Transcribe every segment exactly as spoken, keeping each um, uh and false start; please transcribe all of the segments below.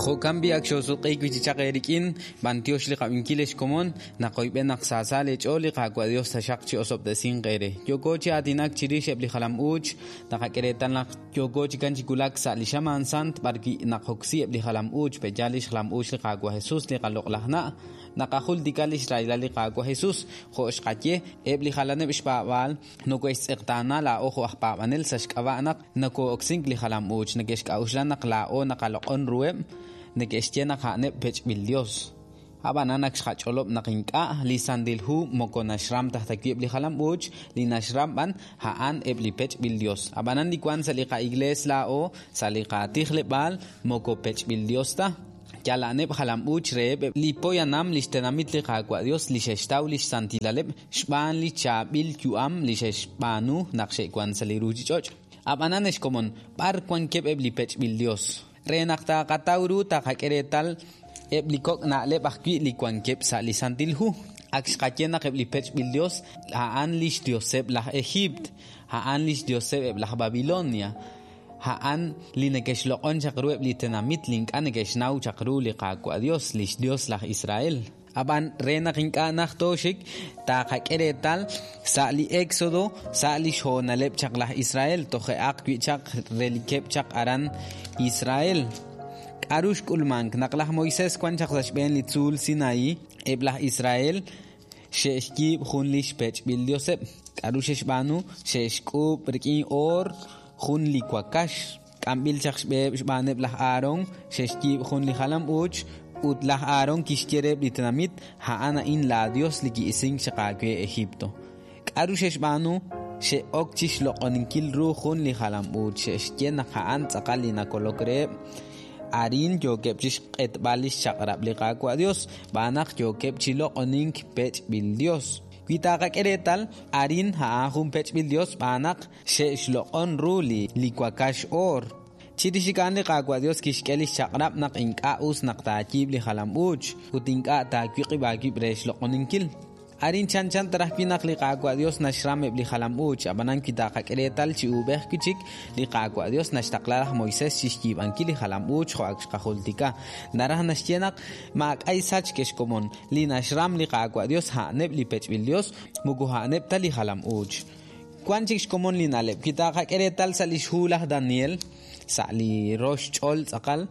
Jo'kan b'i' ak xoosutq'iik wi' chi chaq eerik'in, b'antiox li qab'inkil ex komon, naqoyb'en naq saasa leech'ool li Qaawa' Dios taxaq chi osob'tesinq eere. Yooko chi aatinak chirix eb' li jalam-uuch, naqak'e reetal naq yooko chi kan chi wulak sa' li xamaan sant b'ar wi' naqoksi eb' li jalam-uuch, pe'yaal li xjalam-uuch li Qaawa' Jesus li qaloq'laj na', naqajultika li xrahilal li Qaawa' Jesus, jo' xqaye eb' li jalaneb' xpaab'aal nokohe'xtz'eqtaana laa'o jo' aj paab'anel sa' xk'ab'a' naq nokoo'oksink li jalam-uuch, neke'xk'a'uxla naq laa'o naqaloq'on ruheb', neke'xye naq a'aneb' pech'b'il Dios. Ab'anan ak xqach'olob' naq ink'a' li Santil Hu moko naxram taj ta wi' eb' li jalam-uuch, li naxram b'an a'an eb' li pech'b'il Dios. Ab'anan li wank sa' li qa'iglees laa'o, sa' li qatijleb'aal, moko pech'b'il Dios ta. Yal a'aneb' jalam-uuch reheb' li poyanam li xtenamit li Qaawa' Dios li xe'xtaw li xsantilaleb' xb'aan li chaab'il yu'am li xe'xb'aanu naq xe'wank sa' li ruuchich'och'. Ab'anan ex komon, b'ar wankeb' eb' li pech'b'il Dios? Re naq taqataw ru taqak'e reetal eb' li kok' na'leb' ajwi' li wankeb' sa' li Santil Hu. Ak xqaye naq eb' li pech'b'il Dios a'an li xdioseb' laj Ejiipt, a'an li xdioseb' eb' laj Babilonia, a'an li neke'xloq'on chaq ru eb' li tenamit li ink'a' neke'xnaw chaq ru li Qaawa' Dios, li xdios laj Israel. Ab'an re naq ink'a' naj tooxik, taqak'e reetal sa' li Éxodo, sa' li xhoonaleb' chaq laj Israel, toje'aq wi' chaq relikeb' chaq aran Israel. K'aru xk'ulmank naq laj Moisés wan chaq sa' xb'een li tzuul Sinaí, eb' laj Israel xe'xyiib' jun li xpech'b'il dioseb'. K'aru xe'xb'aanu? Xe'xk'uub' rik'in oor jun li wakax. K'amb'il chaq xb'eheb' xb'aaneb' laj Aarón, xe'xyiib' jun li jalam-uuch ut laj Aarón kixye reheb' li tenamit, a'an a'in laa Dios li ki'isink chaq aawe Egipto. K'aru xe'xb'aanu? Xe'ok chi xloq'oninkil ru jun li jalam-uuch, xe'xye naq a'an tz'aqal li nakolok reheb'. Arin yookeb' chi xq'etb'al li xchaq'rab' li Qaawa' Dios, b'aan naq yookeb' chi loq'onink pech'b'il Dios. Wi taqak'e reetal, arin a'an jun pech'b'il Dios b'aan naq xe'xloq'on ru li li wakax oor. Chirix a'an li Qaawa' Dios kixk'e li xchaq'rab' naq ink'a' us naq taayiib' li jalam-uuch ut ink'a' taawiq'ib' aawib' re xloq'oninkil. Arin chanchan taraj wi' naq li Qaawa' Dios naxram eb' li jalam-uuch, ab'anan wi taqak'e reetal chi uub'ej wi' chik, li Qaawa' Dios naxtaqla laj Moisés chi xyiib'ankil li jalam-uuch jo' ak xqajultika. Naraj naxye naq maak'ay sachk ex komon, li naxram li Qaawa' Dios a'aneb' li pech'b'il Dios, moko a'aneb' ta li jalam-uuch. Wan chik xkomon li na'leb', wi taqak'e reetal sa' li xhu laj Daniel, sa' li rox ch'ol tz'aqal,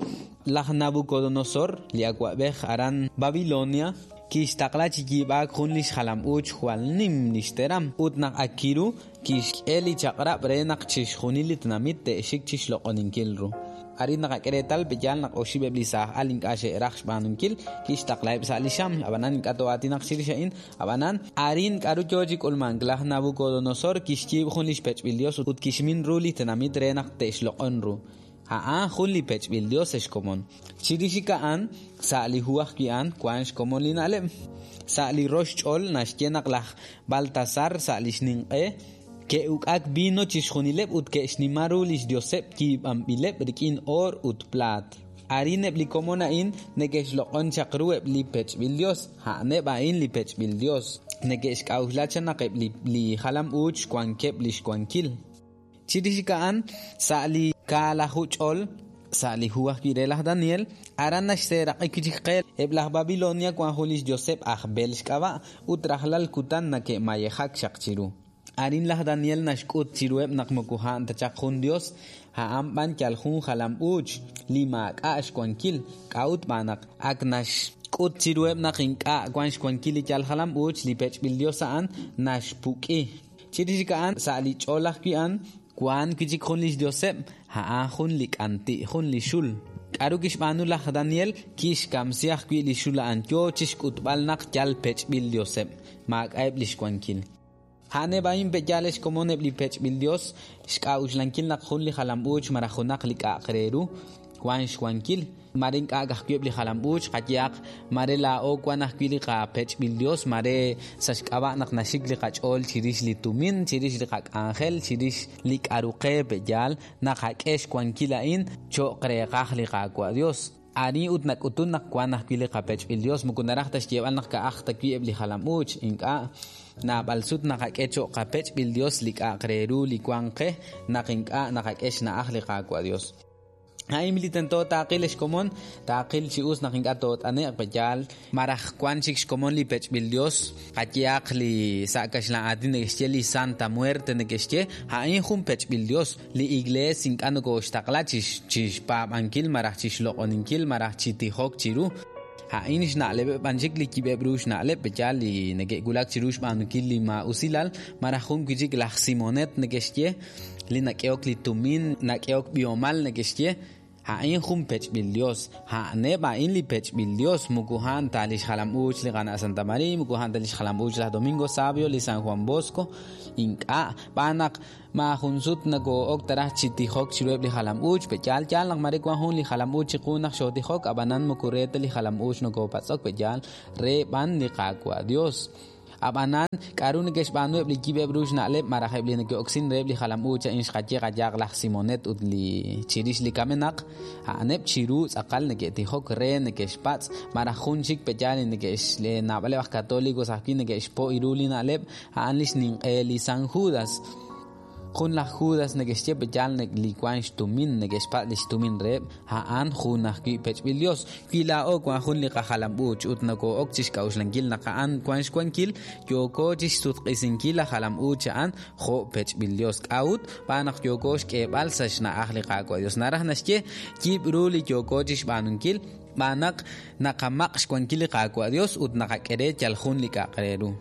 laj Nabucodonosor, li awa'b'ej aran Babilonia, kixtaqla chi yiib'aak jun li xjalam-uuch jwal nim li xteram ut naq ak kiru kixk'e li chaq'rab' re naq chixjunil li tenamit te'xik chi xloq'oninkil ru. Arin naqak'e reetal pe'yaal naq oxib' eb' li saaj al ink'a' xe'raj xb'aanunkil, kixtaqlaheb' sa' li xam, ab'anan ink'a' too'aatinaq chirix a'in, ab'anan arin k'aru yoo chi k'ulmank, laj Nabucodonosor kixyiib' jun li xpech'b'il Dios ut kixmin ru li tenamit re naq te'xloq'on ru. A'an jun li pech'b'il Dios ex komon. Chirix a'an sa' li hu ajwi' a'an wan xkomon li na'leb'. Sa' li rox ch'ol naxye naq laj Baltasar sa' li xninq'e ke'uk'ak vino chixjunileb' ut ke'xnima ru li xdioseb' yiib'anb'ileb' rik'in oor ut plaat. Arin eb' li komon a'in neke'xloq'on chaq ru eb' li pech'b'il Dios, a'aneb' a'in li pech'b'il Dios. Neke'xk'a'uxla chaq naq eb' li, li jalam-uuch wankeb' li xwankil. Chirix a'an sa' li kaalaju ch'ol, sa' li hu ajwi' re laj Daniel, aran naxseeraq'i wi' chik qe eb' laj Babilonia wan jun li xdioseb' aj Bel xk'ab'a' ut rajlal kutan nake'mayejak chaq chiru. Arin laj Daniel naxk'ut chiruheb' naq moko a'an ta chaq jun Dios, a'an b'an yal jun jalam-uuch li maak'a' xwankil, k'a'ut b'aan naq ak naxk'ut chiruheb' naq ink'a' wan xwankil li yal jalam-uuch li pech'b'il Dios a'an naxpuk'i. Chirix a'an sa' li ch'ol ajwi' a'an wan wi' chik jun li xdioseb', a'an jun li k'anti', jun li xul. K'aru kixb'aanu laj Daniel? Kixkamsi ajwi' li xul a'an yoo chi xk'utb'al naq yal pech'b'il dioseb', maak'a'eb' li xwankil. A'aneb' a'in pe'yaal ex komon eb' li pech'b'il Dios, xk'a'uxlankil naq jun li jalam-uuch malaj junaq li k'a'aq re ru wan xwankil. Mare ink'a' ajwi' eb' li jalam-uuch qayehaq, mare laa'o wan ajwi' li qapech'b'il Dios, mare sa' xk'ab'a' naq naxik li qach'ool chirix li tumin, chirix li qak'anjel, chirix li k'aru qe pe'yaal, naqak'e xwankil a'in cho'q reeqaj li Qaawa' Dios. Arin ut nak'utun naq wan ajwi' li qapech'b'il Dios, moko naraj ta xyeeb'al naq ka'aj ta wi' eb' li jalam-uuch, ink'a' naab'al sut naqak'e cho'q qapech'b'il Dios li k'a'aq re ru li wan qe naq ink'a' naqak'e xna'aj li Qaawa' Dios. A'in li tento taaqil xkomon, taaqil chi us naq ink'a' toot'ane'q peyaal, maraj wan chik xkomon li pech'b'il Dios, qayehaq li sa' kaxlan aatin neke'xye li Santa Muerte neke'xye, a'in jun pech'b'il Dios, li iglees ink'a' nokoxtaqla chi xpaab'ankil maraj chi xloq'oninkil maraj chi tijok chiru. A'in xna'leb'eb' b'an chik li yib'eb' ru xna'leb' peyaal li neke'wulak chiru xb'aanunkil li ma'usilal, maraj jun wi' chik laj Simonet neke'xye, li nak'ehok li tumin, nak'ehok b'ihomal neke'xye, a'in jun pech'b'il Dios, a'aneb' a'in li pech'b'il Dios, muku a'an ta li xjalam-uuch li qana' Santa María, muku a'an ta li xjalam-uuch laj Domingo Savio, li San Juan Bosco, ink'a' b'an naq maajun sut nakoo'ok taraj chi tijok chiruheb' li jalam-uuch, peyaal yaal naq mare wan jun li jalam-uuch chiqu naq xootijok, ab'anan muku re ta li jalam-uuch nokopatz'ok peyaal re b'an li Qaawa' Dios. Ab'anan k'aru neke'xb'aanu eb' li yib'eb' ru xna'leb' maraj eb' li neke'oksin reheb' li jalam-uuch a'in xqaye qayaq laj Simonet ut li chirix li kamenaq, a'aneb' chiru tz'aqal neke'tijok re neke'xpatz' maraj jun chik peyaal li neke'x naab'aleb' aj katolicos ajwi' neke'xpo' ru li na'leb' a'an li xninq'e li San Judas. Jun laj Judas neke'xye peyaal li wan xtumin, neke'xpatz' li xtumin reheb', a'an jun ajwi' pech'b'il Dios. Wi laa'o wan jun li qajalam-uuch ut nakoo'ok chi xk'a'uxlankil naq a'an wan xwankil, yooko chi xsutq'isinkil laj jalam-uuch a'an jo' pech'b'il Dios. K'a'ut b'an naq yooko xk'eeb'al sa' xna'aj li Qaawa' Dios. Naraj naxye yib' ru li yooko chi xb'aanunkil, b'an naq naqamaq' xwankil li Qaawa' Dios ut naqak'e re yal jun li k'a'aq re ru.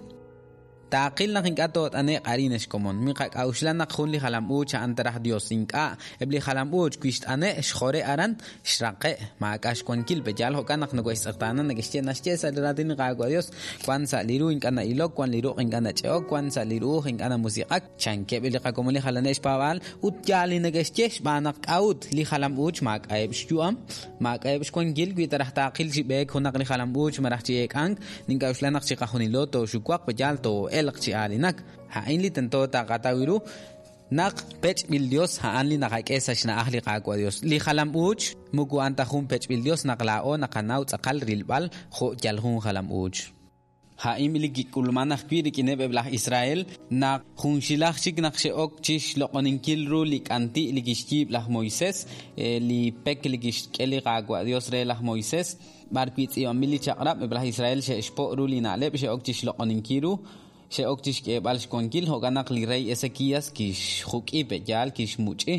Taaqil naq ink'a' toot'ane'q arin xkomon, miqak'a'uxla naq jun li jalam-uuch a'an taraj Dios, ink'a' eb' li jalam-uuch wi xt'ane' xjore aran xraqe' maak'a' xwankil peyaal jo'kan naq nokoxtz'eqtaana neke'xye naxye sa' li raatin li Qaawa' Dios, wan sa' li ru ink'a' na'ilok, wan li ruq' ink'a' nach'e'ok, wan sa' li ru'uj ink'a' namusiq'ak, chankeb' li qakomon li jalaneb' xpaab'aal ut yaal li neke'xye xb'aan naq k'a'ut li jalam-uuch maak'a'eb' xyu'am, maak'a'eb' xwankil wi taraj taaqil chi b'eek junaq li jalam-uuch maraj chi eek'ank, nink'a'uxla naq chiqajunilo tooxuwaq peyaal too'elq chi aalinak. A'in li tento taqataw ru naq pech'b'il Dios a'an li naqak'e sa' xna'aj li Qaawa' Dios. Li jalam-uuch muku a'an ta jun pech'b'il Dios naq laa'o naqanaw tz'aqal rilb'al jo' yal jun jalam-uuch. A'in li kik'ulman ajwi' rik'ineb' eb' laj Israel naq junxilaj chik naq xe'ok chi xloq'oninkil ru li k'anti' li kixyiib' laj Moisés, li pek li kixk'e li Qaawa' Dios re laj Moisés, b'ar wi' tz'iib'anb'il li chaq'rab' eb' laj Israel xe'xpo' ru li na'leb' xe'ok chi xloq'oninkil ru, xe'ok chi xk'eeb'al xwankil jo'kan naq li rey Ezequías kixjuk'i peyaal kixmuch'i.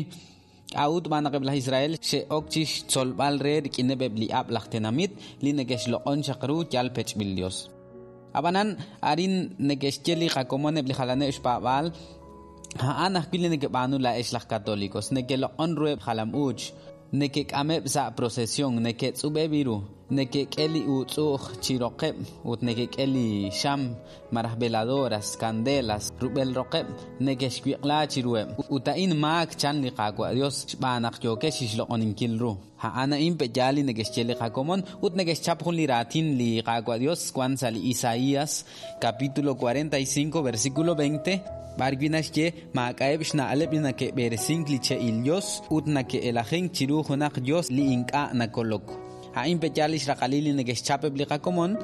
K'a'ut b'an naq eb' laj Israel xe'ok chi xtzolb'al re rik'ineb' eb' li ab' laj tenamit li neke'xloq'on chaq ru yal pech'b'il Dios. Ab'anan arin neke'xye li qakomon eb' li jalaneb' xpaab'aal, a'an ajwi' li neke'b'aanu la'ex laj katolicos, neke'loq'on ruheb' jalam-uuch, neke'k'ameb' sa' procesión, neke'tz'ub'eb' ru, neke'k'e li utz'u'j chi roqeb' ut neke'k'e li xam maraj veladoras, candelas, rub'el roqeb', neke'xwiq'la chiruheb'. Ut a'in maak chan li Qaawa' Dios xb'aan naq yookex xloq'oninkil ru. A'an a'in peyaal li neke'xye li qakomon ut neke'xchap jun li raatin li Qaawa' Dios wan sa' li Isaías capítulo cuarenta y cinco versículo veinte, b'ar wi' naxye maak'a'eb' xna'leb' li nake'b'eresink li che'il Dios ut nake'elajink chiru junaq Dios li ink'a' nakolok. A'in peyaal li xraqalil li neke'xchap eb' li qakomon,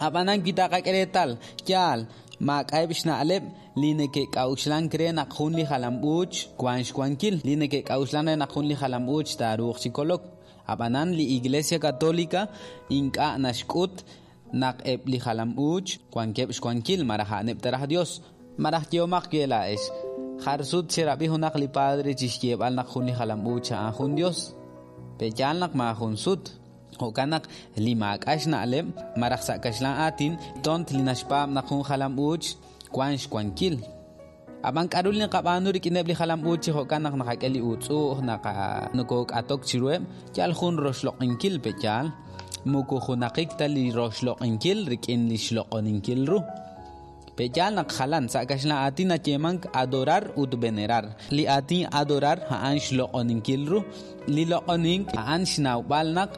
ab'anan wi taqak'e reetal yaal maak'a'eb' xna'leb' li neke'k'a'uxlank re naq jun li jalam-uuch wan xwankil, li neke'k'a'uxlan re naq jun li jalam-uuch taaruuq chi kolok. Ab'anan li Iglesia Católica ink'a' naxk'ut naq eb' li jalam-uuch wankeb' xwankil maraj a'aneb' taraj Dios. Maraj yehomaq we la'ex, jar sut xerab'i junaq li padre chi xyeeb'al naq jun li jalam-uuch a'an jun Dios. Peyaal naq maajun sut. Jo'kan naq li maak'a' xna'leb' maraj sa' kaxlan aatin tont li naxpaab' naq jun jalam-uuch wan xwankil. Ab'an k'aru li naqab'aanu rik'ineb' li jalam-uuch chi jo'kan naq naqak'e li utz'u'j, naqa nokook'atok chiruheb', yal jun roxloq'inkil peyaal, muku junaqik ta li roxloq'inkil rik'in li xloq'oninkil ru. Peyaal naq jalan sa' kaxlan aatin nayeemank adorar ut venerar. Li aatin adorar a'an xloq'oninkil ru, li loq'onink a'an xnawb'al naq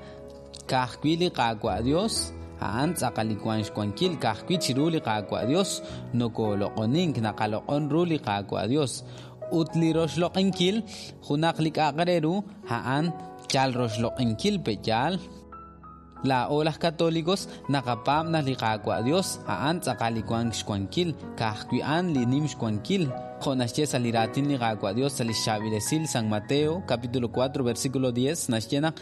ka'ajwi' li Qaawa' Dios a'an tz'aqal li wan xwankil, ka'ajwi' chiru li Qaawa' Dios nokoloq'onink, naqaloq'on ru li Qaawa' Dios. Ut li roxloq'inkil junaq li k'a'aq re ru a'an yal roxloq'inkil peyaal. Laa'o laj katolicos naqapaab' naq li Qaawa' Dios a'an tz'aqal li wan xwankil, ka'ajwi' a'an li nim xwankil. Jo' naxye sa' li raatin li Qaawa' Dios sa' li xchaab'il esil San Mateo, capítulo cuatro, versículo diez, naxye naq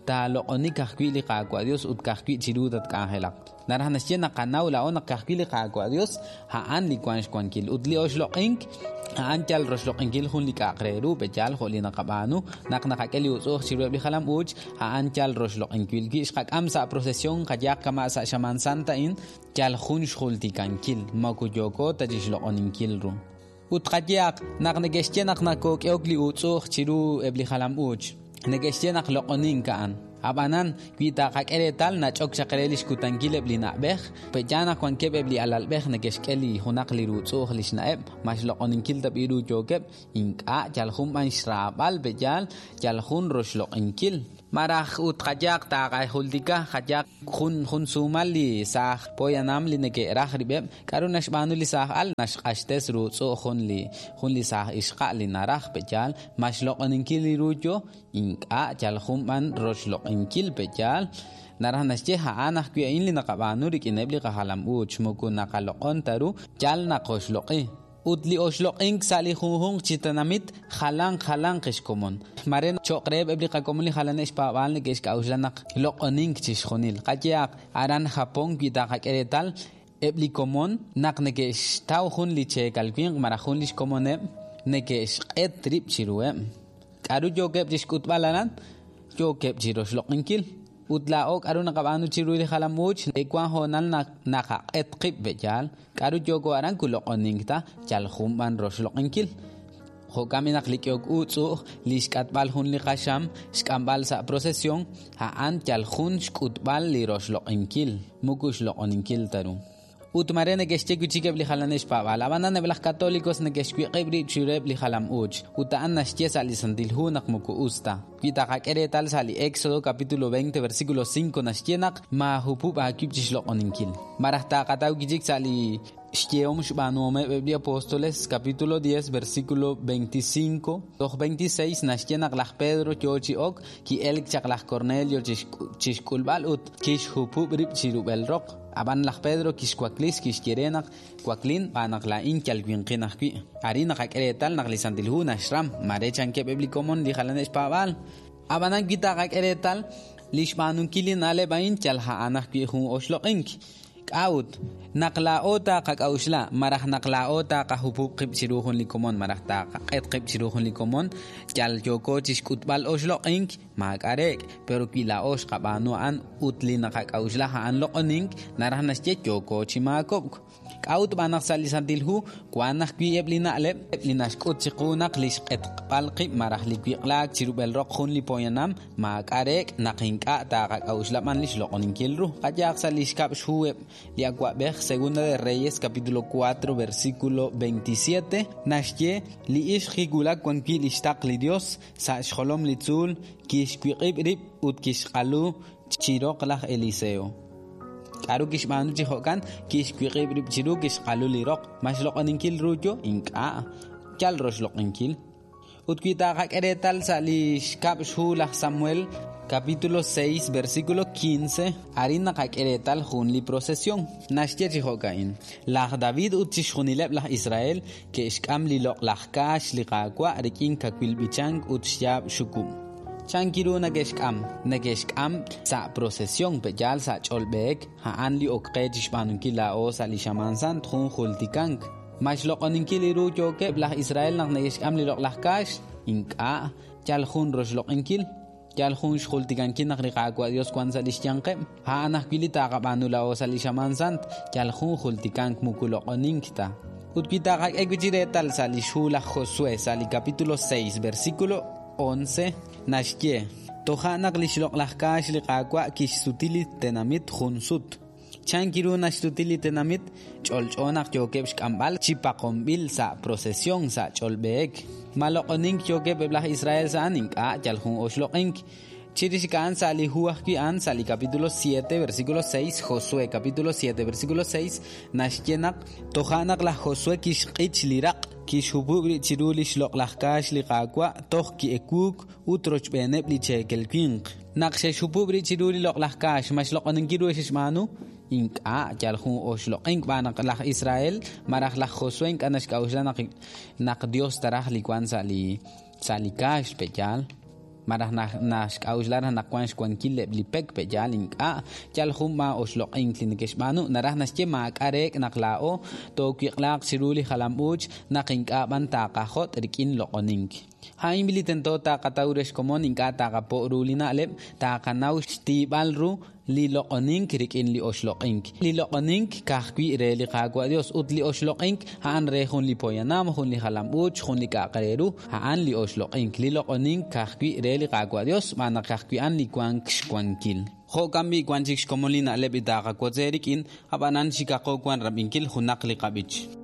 taaloq'oni ka'ajwi' li Qaawa' Dios ut ka'ajwi' chiru tatk'anjelaq. Naraj naxye naqanaw laa'o naq ka'ajwi' li Qaawa' Dios a'an li wank xwankil ut li oxloq'ink a'an yal roxloq'inkil jun li k'a'aq re ru pe'yaal jo' li naqab'aanu naq naqak'e li utz'u'uj chiruheb' li jalam-uuch a'an yal roxloq'inkil. Wi xqak'am sa' procesión qayaq kama' sa' xamaan santa a'in yal jun xjultikankil moko yooko ta chixloq'oninkil ru. Ut qayaq naq neke'xye naq nakook'ehok li utz'u'uj chiru eb' li jalam-uuch neke'xye naq loq'onink a'an. Ab'anan wi taqak'e reetal nach'ok chaq re li xkutankil eb' li na'b'ej pe'yaal naq wankeb' eb' li alalb'ej neke'xk'e li junaq li ruutz'u'uj li xna'eb' ma xloq'oninkil ta b'i ru yookeb' ink'a' yal jun b'an xraab'al pe'yaal yal jun roxloq'inkil. Maraj ut qayaq taqajultika qayaq jun jun suumal li saaj poyanam li neke'raj rib'eb' k'aru naxb'aanu li saaj al naxq'axtes ruutz'u'uj jun li jun li saaj ixqa' li naraj pe'yaal ma xloq'oninkil li ru yo ink'a' yal jun b'an roxloq'inkil pe'yaal. Naraj naxye a'an ajwi' a'in li naqab'aanu rik'ineb' li qajalam-uuch moko naqaloq'on ta ru yal naqoxloq'i. Ut li oxloq'ink sa' li junjunq chi tenamit jalan jalanq xkomon. Mare cho'q reheb' eb' li qakomon li jalaneb' xpaab'aal neke'xk'a'uxla naq loq'onink chixjunil. Qayehaq aran Japón wi taqak'e reetal eb' li komon naq neke'xtaw jun li cheekal winq malaj jun li xkomoneb' neke'xq'et rib' chiruheb'. K'aru yookeb' chixk'utb'al aran? Yookeb' chiroxloq'inkil. Ut laa'o k'aru naqab'aanu chiru li jalam-uuch wank hoonal naqaq'et qib' pe'yaal k'aru yooko aran kuloq'onink ta yal jun b'an roxloq'inkil. Jo'kan naq li k'ehok utz'u'uj li xk'atb'al jun li qaxam xk'amb'al sa' procesión a'an yal jun xk'utb'al li roxloq'inkil moko xloq'oninkil ta ru. Ut mare neke'xye wi' chik eb' li jalaneb' xpaab'aal ab'anan eb' laj católicos neke'xwiq'ib' rib' chiruheb' li jalam-uuch ut a'an naxye sa' li Santil Hu naq moko us ta. Wi taqak'e reetal sa' li Éxodo capítulo veinte versículo cinco naxye naq maahupub' aawib' chixloq'oninkil. Maraj taqataw wi' chik sa' li xyehom xb'aanuhomeb' eb' li apóstoles capítulo diez versículo veinticinco toj veintiséis naxye naq laj Pedro yoo chi ok ki'elk chaq laj Cornelio chixk'ulb'al ut kixhupub' rib' chirub'el roq. Ab'an laj Pedro kixwaklis kixye re naq waklin b'aan naq laa'in yal winqin ajwi'. Arin naqak'e reetal naq li Santil Hu naxram mare chankeb' eb' li komon li jalaneb' xpaab'aal. Ab'anan wi taqak'e reetal li xb'aanunkil li na'leb' a'in yal a'an ajwi' jun oxloq'ink. K'a'ut naq laa'o taqak'a'uxla maraj naq laa'o taqajupub' qib' chiru jun li komon maraj taqaq'et qib' chiru jun li komon yal yooko chixk'utb'al oxloq'ink maak'a' reek' pero wi laa'o xqab'aanu a'an ut li naqak'a'uxla a'an loq'onink naraj naxye yooko chi maakob'k. K'a'ut b'aan naq sa' li Santil Hu wank ajwi' eb' li na'leb' li naxk'ut chiqu naq li xq'etq'b'al qib' maraj li wiq'laak chirub'el roq jun li poyanam maak'a' reek' naq ink'a' taqak'a'uxla b'an li xloq'oninkil ru. Qayaq sa' li xkab' xhu eb' li awa'b'ej Segunda de Reyes capítulo cuatro versículo veintisiete naxye li ixq kiwulak wan wi' li xtaql li Dios sa' xjolom li tzuul kixwiq'ib' rib' ut kixq'alu chiroq laj Eliseo. K'aru kixb'aanu chi jo'kan kixwiq'ib' rib' chiru kixq'alu li roq ma xloq'oninkil ru yo ink'a' yal roxloq'inkil. Ut wi taqak'e reetal sa' li xkab' xhu laj Samuel capítulo seis versículo quince arin naqak'e reetal jun li procesión naxye chi jo'ka'in laj David ut chixjunileb' laj Israel ke'xk'am li loq'laj kaax li Qaawa' rik'in kawil b'ichank ut xyaab' xukub'. Chankiru neke'xk'am neke'xk'am sa' procesión pe'yaal sa' ch'olb'eek a'an li ok qe chixb'aanunkil laa'o sa' li xamaan sant jun jultikank. Ma xloq'oninkil li ru yookeb' laj Israel naq neke'xk'am li loq'laj kaax ink'a' yal jun roxloq'inkil yal jun xjultikankil naq li Qaawa' Dios wank sa' li xyanqeb' a'an ajwi' li taqab'aanu laa'o sa' li xamaan sant yal jun jultikank moko loq'onink ta. Ut wi taqak'e wi' chi reetal sa' li xhu laj Josué sa' li capítulo seis versículo once naxye toja' naq li xloq'laj kaax li Qaawa' kixsuti li tenamit jun sut. Chankiru naxsuti li tenamit ch'olch'o naq yookeb' xk'amb'al chi paqonb'il sa' procesión sa' ch'olb'eek. Ma loq'onink yookeb' eb' laj Israel sa' a'an ink'a' yal jun oxloq'ink. Chirix a'an sa' li hu ajwi' a'an sa' li capítulo siete versículo seis Josué capítulo siete versículo seis naxye naq toja' naq laj Josué kixq'ich li raq' kixhupub' rib' chiru li xloq'laj kaax li Qaawa' toj ki'ekuuk ut rochb'eeneb' li cheekel winq. Naq xe'xhupub' rib' chiru li loq'laj kaax ma xloq'oninkil ru xe'xb'aanu Ink'a' yal jun oxloq'ink b'aan naq laj Israel malaj laj Josué ink'a' naxk'a'uxla naq naq Dios taraj li wank sa' li sa' li kaax pe'yaal malaj naxk'a'uxla raj naq wank xwankil eb' li pek pe'yaal ink'a' yal jun b'an oxloq'ink li neke'xb'aanu naraj naxye maak'a' reek' naq laa'o toowiq'laaq chiru li jalam-uuch naq ink'a' b'an taqajot' rik'in loq'onink. A'in li tento taqataw re xkomon ink'a' taqapo' ru li na'leb' taqanaw xtiib'al ru li loq'onink rik'in li oxloq'ink. Li loq'onink ka'ajwi' re li Qaawa' Dios ut li oxloq'ink a'an re jun li poyanam, jun li jalam-uuch, jun li k'a'aq re ru, a'an li oxloq'ink. Li loq'onink ka'ajwi' re li Qaawa' Dios xb'aan naq ka'ajwi' a'an li wank xwankil. Jo'kan b'i' wan chik xkomon li na'leb' li taqawotz rik'in, ab'anan xikaqo wan rab'inkil junaq li qab'ich.